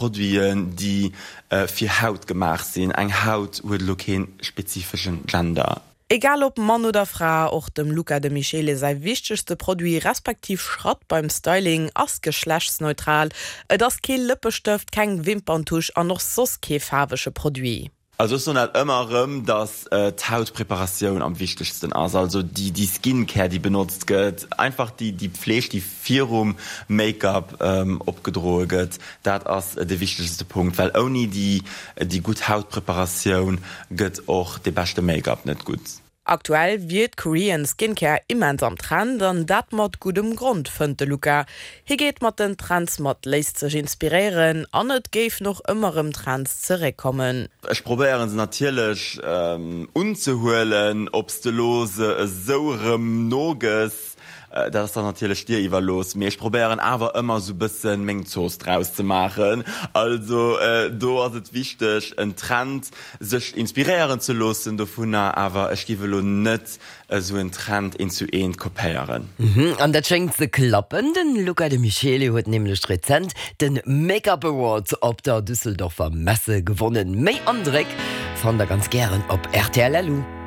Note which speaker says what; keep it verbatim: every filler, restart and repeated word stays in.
Speaker 1: Produiten, déi fir Haut gemaach sinn. Eng Haut huet elo kee spezifeschen Gender.
Speaker 2: Egal ob Mann oder Fra, och dem Luca De Michele säi wichtegste Produit respektiv Schratt beim Styling ass geschlechtsneutral, Et ass kee Lëppestëft, keng Wimperntusch an och soss kee faarwege Produit.
Speaker 1: Also ech soen dat ëmmer erëm, dass d'Hautpreparatioun am wichtegsten ass, also déi déi Skincare déi benotzt gëtt, einfach déi déi Pfleeg déi virum Make-up opgedroe gëtt, dat ass de wichtegste Punkt, well ouni déi déi gutt Hautpreparatioun gëtt och dee beschte Make-up net gutt.
Speaker 2: Aktuell wier d'Korean Skincare immens am Trend an dat mat guddem Grond, fënnt de Luca. Hie geet mat den Trends mat, léisst sech inspiréieren an et géifen och ëmmer erëm Trends zeréckkommen.
Speaker 1: Ech probéieren se natierlech unzehuelen, ob s de elo se esou erëm nogëss, dat ass dann natierlech dir iwwerlooss, mee ech probéieren awer ëmmer esou bëssen meng Zooss draus ze maachen. Also do ass et wichteg en Trend sech inspiréieren ze loossen dovunner, awer ech giff elo net esou en Trend eent zu eent kopéieren.
Speaker 3: An dat schéngt ze klappen, den Luca De Michele huet nämlech rezent den Make-up Award op der Düsseldorfer Messe gewonnen. Méi Andréck fannt der ganz gären op rtl. Lu.